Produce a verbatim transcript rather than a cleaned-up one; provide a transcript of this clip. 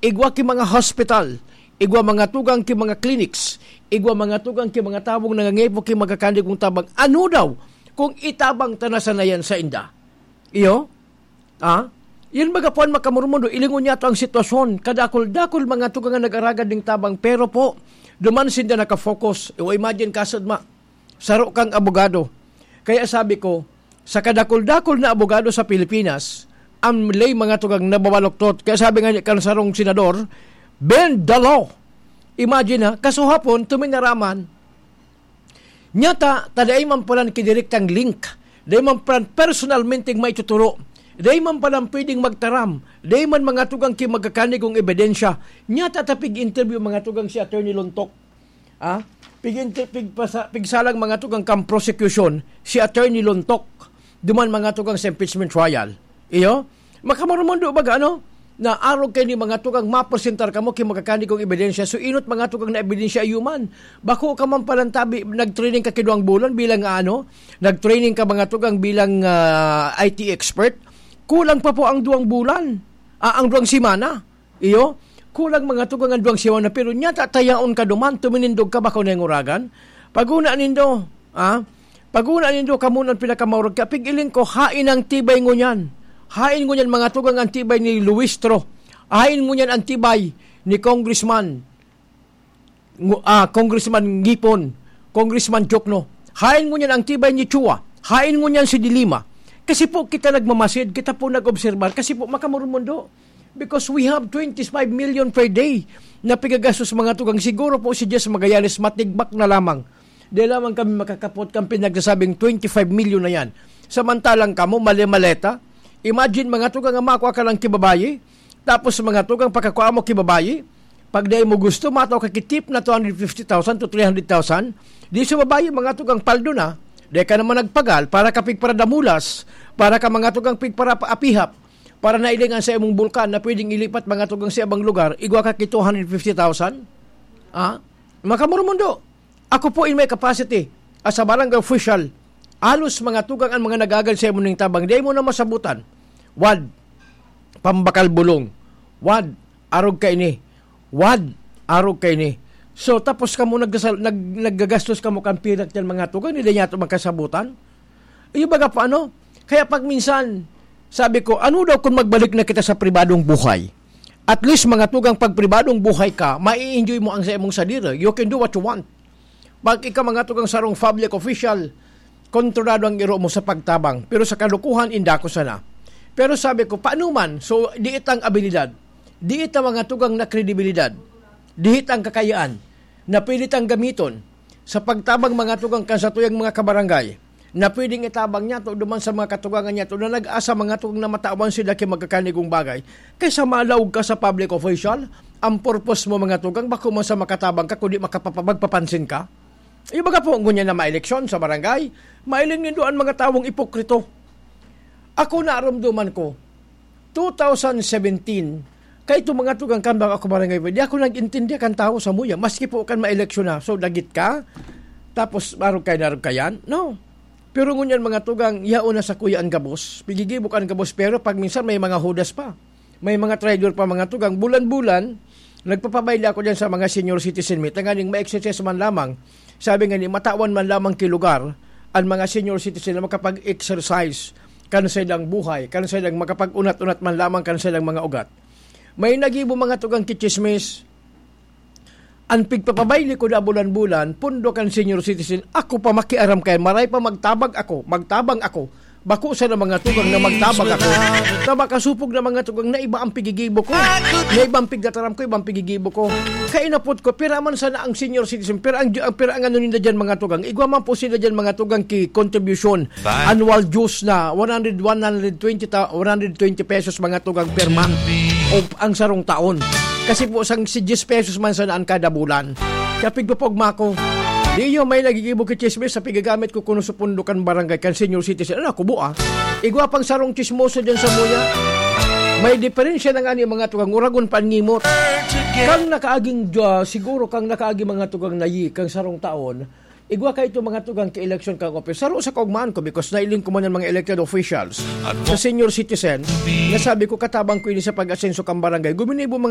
igwa ki mga hospital, igwa mga tugang ki mga clinics, igwa mga tugang ki mga tawong nangangaipo ki magkakanigong tabang. Ano daw kung itabang ta na sana yan sa inda? Iyo? Ah? Yan baga po an makamurmundo, ilingon niya to ang sitwasyon. Kadakul-dakul mga tugang an nag-aragad ning tabang, pero po, duman sinda nakafocus. O imagine, kasad ma, saro kang abogado. Kaya sabi ko, sa kadakul-dakul na abogado sa Pilipinas, ang lay mga tugang nababaluktot. Kaya sabi nga niya kan sarong senador, "Bend the law." Imagine ha, kasuhapon, tuminaraman. Nyata, ta dai man palan kinirektang link, dai man palan personalmente maituturo, dai man palan pwedeng magtaram, dai man mga tugang ki magkakanigong ebidensya. Nyata ta pig-interview mga tugang si Attorney Lontok. Ah? Pig-inter-, pigpasa-, pigsalang mga tugang kan prosecution si Attorney Lontok. Duman mga tugang sa impeachment trial. Iyo? Makamurmundo baga, ano? Na arog kay ni mga tugang mapresentar kamo ki magkakanigong ebidensya. So, inot mga tugang na ebidensya iyo man. Bako ka man palan tabi, nag-training ka ki duwang bulan bilang, ah, ano? Nag-training ka mga tugang bilang, ah, I T expert. Kulang pa po ang duwang bulan. Ah, ang duwang semana. Iyo? Kulang mga tugang ang duwang semana. Pero nyata tayaon ka duman, tuminindog ka, bako na yung uragan. Paguna nindo, ah? Paguna nindo, kamo nang pinakamaurag ka. Pig-iling ko, hain ang tibay ngunyan. Hain ngunyan, mga tugang, ang tibay ni Luistro. Hain ngunyan ang tibay ni Congressman, ngu-, ah, Congressman Ngipon, Congressman Jokno. Hain ngunyan ang tibay ni Chua. Hain ngunyan si Dilima. Kasi po kita nagmamasid, kita po nag-obserbar. Kasi po makamurmundo. Because we have twenty-five million per day na pigagastos, mga tugang. Siguro po si Jess Magallanes matigbak na lamang. Di lamang kami makakapot kan pinagsasabing twenty-five million na yan. Samantalang kamo, mali-maleta. Imagine, mga tugang, ang makwa ka lang ki babayi. Tapos, mga tugang, pagkakwa mo ki babayi, pag dai mo gusto, matao ka ki tip na two hundred fifty thousand to three hundred thousand. Di sa babayi, mga tugang, paldo na. Di ka naman nagpagal para ka pigparadamulas, para ka, mga tugang, pigparapaapihap, para nailingan sa imong bulkan na pwedeng ilipat, mga tugang, sa ibang lugar, igwa ka ki two hundred fifty thousand? Ah? Makamurmundo. Ako po in my capacity as a barangay official, alos mga tugang an mga nagagal sa imo ning tabang, di mo na masabutan. Wad, pambakal bulong. Wad, arog ka ini. Wad, arog ka ini. So, tapos kamo naggasal-, nag-, naggagastos kamo kan pirak yan, mga tugang, hindi niya ito magkasabutan. Iyo baga po, ano? Kaya pag minsan, sabi ko, "Ano daw kung magbalik na kita sa pribadong buhay?" At least, mga tugang, pag pribadong buhay ka, mai-enjoy mo ang sa imong sadiri. You can do what you want. Pag ikaw, mga tugang, sarong public official, kontrolado ang iro mo sa pagtabang. Pero sa kalukuhan, inda ko sana. Pero sabi ko, "Paano man?" So, di itang abilidad, di ita, mga tugang, na kredibilidad, di itang kakayaan na pwede tang gamiton sa pagtabang, mga tugang, kan satuyang mga kabarangay, na pwedeng itabang niya to duman sa mga katugangan niya to na nag-asa, mga tugang, na matawan sila ki magkakanigong bagay. Kaysa malaog ka sa public official, ang purpose mo, mga tugang, bako man sa makatabang ka, kundi makapapa-, magpapansin ka. Ibaga po, ngunyan na maeleksyon sa barangay, mailing nindo an mga tawong ipokrito. Ako, naramdaman ko, two thousand seventeen, kay itong mga tugang kan baka ako barangay, di ako nag-intindi kan tawo sa muya. Maski po kan maeleksyon na, so, dagit ka, tapos arog kay narog ka yan? No. Pero ngunyan, mga tugang, yaon na sa kuya ang gabos. Pigigibo ka ang gabos, pero pag minsan may mga hudas pa. May mga traidor pa, mga tugang. Bulan-bulan, nagpapabayli ako dyan sa mga senior citizen mi. Tanganing ma-exercise man lamang. Sabi nga ni, matawan man lamang ki lugar, ang mga senior citizen na makapag-exercise kan sa ilang buhay, kan sa ilang makapag-unat-unat man lamang kan sa ilang mga ugat. May nagibo, mga tugang, ki chismis. An pigpapabayli ko na bulan-bulan, pondo kan senior citizen, ako pa makiaram kaya maray pa magtabag ako, magtabang ako. Bako sana mga tugang na magtabag ako. Na makasupog na mga tugang na iba ang pigigibo ko. Na ibang pigtataram ko, ibang pigigibo ko. Kainapot ko, pira man sana ang senior citizen, pira ang, ang, pira ang ano ninda dyan, mga tugang. Igwa man po sila dyan, mga tugang, ki contribution. Annual dues na one hundred, one hundred twenty ta-, one hundred twenty pesos, mga tugang, per month. O ang sarong taon. Kasi po, sang si diyes pesos man sana an kada bulan. Kaya pigpapogma ko. Di yun, may nagigibo ki chismis sa pigagamit ko kuno sa pondo kan barangay, kan senior citizen. Ano, kubo, ah? Igwa pang sarong chismoso dyan sa muya. May diferensya na nga ni mga tugang, uragon pa an ngimot. Kang nakaaging, ah, siguro kang nakaaging mga tugang nayi, kang sarong taon, igwa ka ito mga tugang ki eleksyon kang office. Saro sa kaugmaan ko, because nailing ko man ang mga elected officials sa senior citizen, nasabi ko, katabang ko ini sa pag-asenso kang barangay. Guminibo mga